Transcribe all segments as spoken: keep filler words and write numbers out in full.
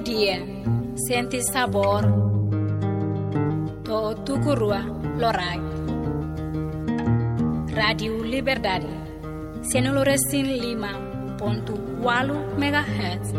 Dia, sente sabór. To'o tuku rua loraik. Rádiu Liberdade, sianulu resin lima pontu ualu megahertz.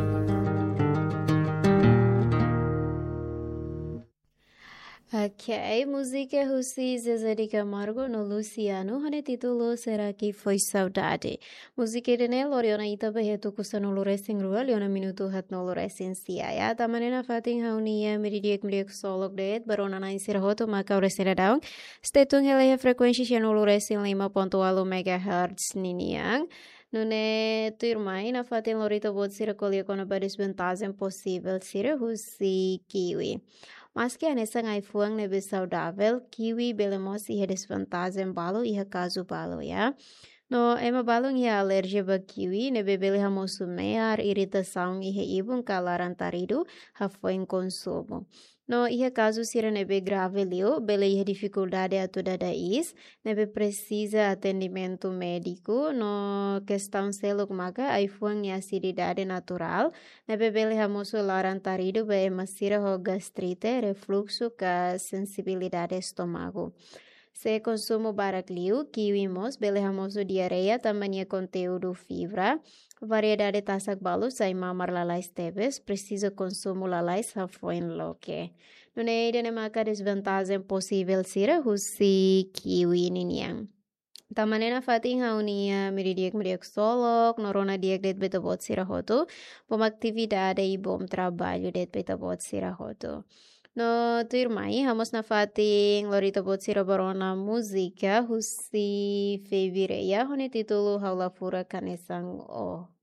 Ok, múzika husi Zezé de Camargo no Luciano, ho nia títulu Será que foi saudade. Múzika ida-ne'e lori ona ita ba iha tuku sanulu resin rua, liu ona minutu haatnulu resin sia. Ya, tanba ne'e nafatin ha'u-nia meiudia di'ak, meiudia ksolok de'it ba rona-na'in sira hotu mak ha'u resin dadaun. Stay tune hela iha frekuénsia sianulu resin lima pontu ualu megahertz ninian. Nune'e tuirmai nafatin lori ita-boot sira ko'alia kona-ba dezvantajen posivel sira husi kiwi. Maski hanesan ai-fuan ne'ebé saudavel, kiwi bele mós iha dezvantajen balu iha kazu balu, ya. No ema balun iha alerjia ba kiwi, ne'ebé bele hamosu me'ar, iritasaun iha ibun ka laran-taridu hafoin konsumu. No iha kazu sira ne'ebé grave liu, bele iha difikuldade atu dada iis, ne'ebé presiza atendimentu médiku, no kestaun seluk maka ai-fuan nia asididade naturál, ne'ebé bele hamosu laran-taridu ba ema sira ho gastrite, refluxu ka sensibilidade estómagu. Se konsumu barak liu, kiwi mós bele hamosu diarreia tanba nia konteúdu fibra. Variedade tasak balu sai mamar lalais tebes, presiza konsumu lalais hafoin loke. Nune'e ida-ne'e maka dezvantajen posivel sira husi kiwi ninian. Tanba ne'e nafatin ha'u-nia meiudia di'ak, meiudia ksolok, no rona di'ak de'it ba ita-boot sira hotu. Bom atividade i bom traballu de'it ba ita-boot sira hotu. No tuirmai, ha'u mós nafatin lori ita-boot sira ba rona múzika husi Feby Rea, ho nia títulu Ha'u la furak hanesan ó.